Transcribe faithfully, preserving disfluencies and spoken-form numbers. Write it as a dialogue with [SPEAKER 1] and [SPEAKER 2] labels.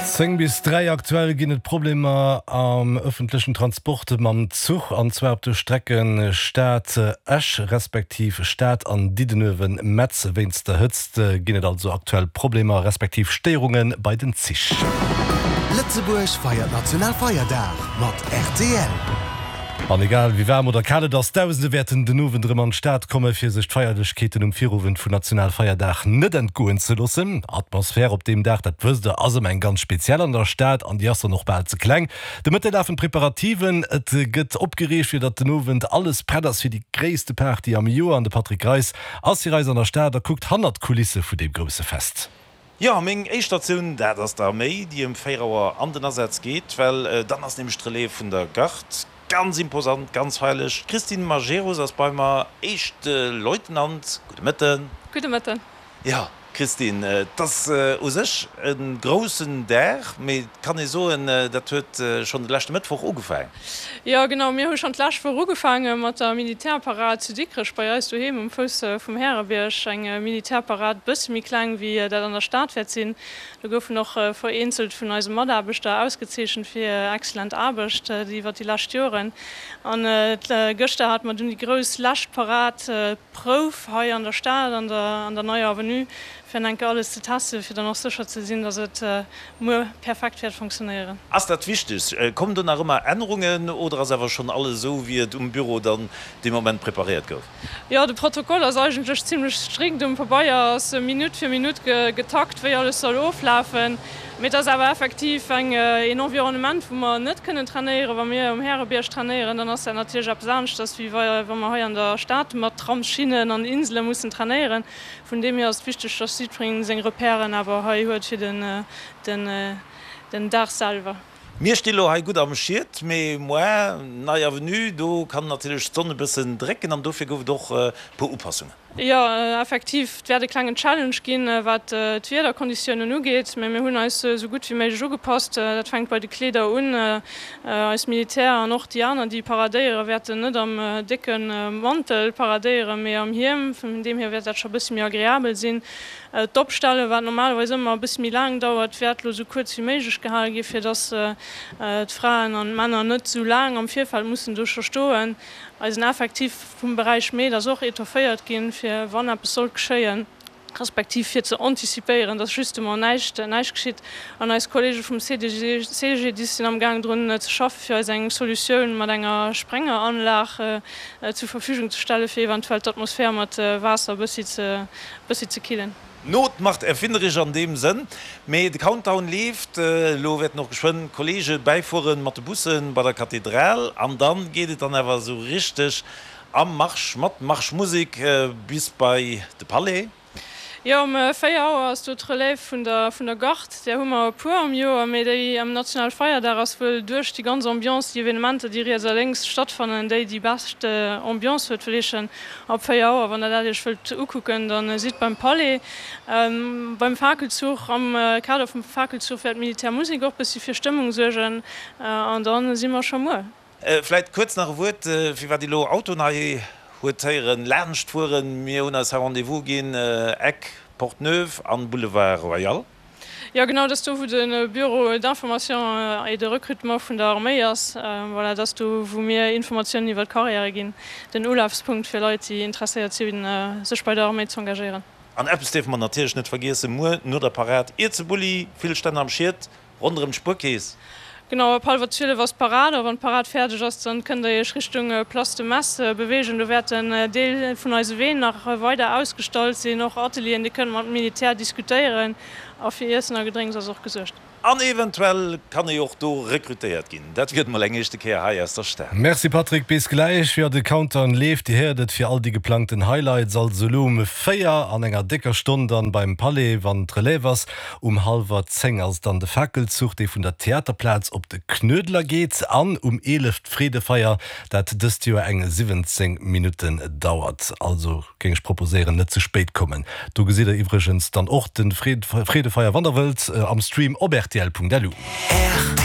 [SPEAKER 1] Zéng bis dräi. Aktuell ginn et Problemer am ëffentlechen Transport mam Zuch, an zwar op de Strecken Stad Esch respektiv Stad an Diddenuewen Metz. Wéinst der Hëtzt ginn et also aktuell Problemer respektiv Stéierunge bei den Zich.
[SPEAKER 2] Lëtzebuerg feiert Nationalfeierdag mat R T L.
[SPEAKER 1] An egal wéi waarm oder kal et ass, Dausende wäerten den Owend erëm an d'Stad komme fir sech d'Feierlechkeeten um Virowend vun Nationalfeierdag net entgoen ze loossen. Atmosphär op deem Dag, dat wësst der, ass ëmmer eng ganz speziell an der Stad an déi ass dann och bal ze kleng. De Mëtte lafen d'Preparativen, et gëtt opgereegt fir datt den Owend alles prett ass fir déi gréisste Party am Joer an de Patrick Greis ass fir eis an der Stad a kuckt hannert d'Kulisse vun deem grousse Fest.
[SPEAKER 3] Jo, meng éischt Statioun, dat ass d'Arméi, déi ëm véier Auer an den Asaz geet, well dann ass nämlech d'Relève vun der Garde. Ganz imposant, ganz feierlech. D'Christine Majerus ass bei mer, éischte Leutnant. Gudde Mëtten.
[SPEAKER 4] Gudde Mëtten.
[SPEAKER 3] Jo, Christine, et ass u sech e groussen Dag, mee et kann ee soen, dat huet schonn de leschte Mëttwoch ugefaangen.
[SPEAKER 4] Jo, genau, mir hu schonn d'lescht Woch ugefaange mat der Militärparad zu Dikrech bei eis doheem um Fouss vum Härebierg. Eng Militärparad, e bësse méi kleng wéi dat an der Stad wäert sinn. Do goufen och vereenzelt vun eise Mataarbechter ausgezeechent fir hir exzellent Aarbecht iwwer déi lescht Joren. An gëschter hate mer dunn déi grouss lescht Parad, Prouf hei an der Stad an der an der Neier Avenue, fir an enke alles ze testen, fir dann och sécher ze sinn, dass et muer perfekt wäert funktionéieren.
[SPEAKER 3] Ass dat wichteg? Kommen do nach ëmmer Ännerungen oder ass awer schonn alles esou, wéi et um Büro dann dee Moment preparéiert gouf?
[SPEAKER 4] Jo, de Protokoll ass eigentlech zimlech strikt. Um Pabeier ass Minutt fir Minutt getakt, wéi alles soll oflafen. Mee et ass awer effektiv eng een Environnement, wou mer net kënnen trainéieren. Wa mir um Härebierg trainéieren, dann ass dat natierlech eppes aneschters, wéi wa mer hei an der Stad mat Tramsschinnen an Insele mussen trainéieren. Vun deem hier ass et wichteg, dass jiddwereen seng Repèren awer hei huet fir den den Dag selwer.
[SPEAKER 3] Mir sti lo hei gutt am Schiet, mee muer, Nei Avenue, do kann natierlech d'Sonn e bëssen drécken an dofir gouf et och e puer Upassungen.
[SPEAKER 4] Jo, effektiv, et wäert e klengen Challenge ginn, wat d'Wiederkonditiounen ugeet, mee mir hunn eis esou gutt wéi méiglech ugepasst. Dat fänkt bei de Kleeder un. Eis Militär an och déi aner, déi paradéieren, wäerten net am décke Mantel paradéieren, mee am Hiem. Vun deem hier wäert dat scho e bëssi méi agreabel sinn. D'Opstellen, wat normalerweis ëmmer e bëssi méi laang dauert, wäert elo esou kuerz wéi méiglech gehale ginn, fir dass d'Fraen an d'Männer net esou laang am Virfeld mussen do scho stoen. Eisen Effektiv vum Beräich Med ass och etofféiert ginn, fir wann eppes sollt geschéien, respektiv fir ze anticipéieren, dass justement näischt näischt geschitt. An eis Kollege vum C D G, C G D I S sinn am Gaang drun ze schaffen, fir eis eng Solutioun mat enger Sprengeranlag zur Verfügung ze stellen, fir eventuell d'Atmosphär mat Waasser e bëssi ze bëssi ze killen.
[SPEAKER 3] Not macht erfinderisch an deem Sënn. Mee de Countdown leeft. Elo wäerten och geschwënn d'Kollege bäifueren mat de Bussen bei der Kathedral an dann geet et dann awer esou richteg am Marsch mat Marschmusek bis bei de Palais.
[SPEAKER 4] Jo, um véier Auer ass do d'Relève vun der vun der Garde. Där hu mer e puer am Joer, mee déi am Nationalfeierdag ass wuel duerch déi ganz Ambiance, déi Evenementer, déi riets a lénks stattfannen, déi déi bescht Ambiance huet. Wëll heeschen, ab véier Auer, wann der dat iech wëllt ukucken, da sidd beim Palais. Beim Fakelzuch, am Kader vum Fakelzuch wäert d'Militärmusek och bëssi fir Stëmmung suergen an da si mer scho muer.
[SPEAKER 3] Vläit kuerz nach e Wuert, firwat déi elo Autoen hei huet héieren laanscht fueren. Mir hunn eis hei Rendez-vous ginn, Eck Porte Neuve an Boulevard Royal.
[SPEAKER 4] Jo genau, dat ass do wou de Bureau d'information et de recrutement vun der Arméi ass. Voilà, dat ass do wou mir Informatiounen iwwer d'Carrièrë ginn, den Ulafspunkt fir Leit déi interesséiert sinn sech bei der Arméi z'engagéieren.
[SPEAKER 3] An eppes dierfe mer natierlech net vergiessen, muer no der Parad, Ierzebulli, vill Stänn am Schiet, ronderëm d'Spuerkeess.
[SPEAKER 4] Genau, ab hallwer zwielef ass d'Parad a wann d'Parad fäerdeg ass, dann kënnt der iech Richtung Place de Metz beweegen. Do wäert en Deel vun eise Ween nach weider ausgestallt sinn, och Atelieren, dir kënnt mat Militär diskutéieren a fir Iessen a Gedrénks ass och gesuergt.
[SPEAKER 3] An eventuell kann ee och do rekrutéiert ginn. Dat wier et mol eng éischte Kéier hei aus der Stad.
[SPEAKER 1] Merci Patrick, bis gläich. Jo, de Countdown leeft, Dir héiert et, fir all déi geplangten Highlights. Also elo um véier an enger décker Stonn dann beim Palais, wann d'Relève ass. Um hallwer zéng ass dann de Fakelzuch, dee vun der Theaterplaz op de Knuedler geet, an um eelef d'Freedefeier, dat dëst Joer eng siwwenzéng Minutten dauert. Also géing ech proposéieren, net ze spéit kommen. Do gesitt der iwwregens dann och de Freedefeier, wann der wëllt, am Stream op rtl Punkt lu.